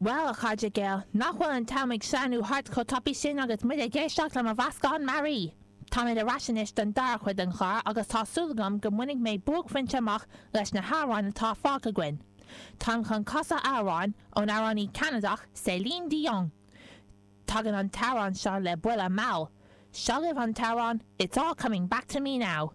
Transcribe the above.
Bhuel, a chairde Gael, nach bhfuil an t-am ag sleamhnú thart chomh tapaidh sin agus muid ag éisteacht le mo mheascán mearaí! Táimid ar ais anois don dara cuid den chlár agus tá súil agam go mbainfidh mé buaicphointe amach leis na hamhráin atá fágtha againn. Táim chun casadh amhráin ón amhránaí Ceanadach Céline Dion. Tagann an t-amhrán seo le buille mall. Seo libh an t-amhrán It's All Coming Back To Me Now.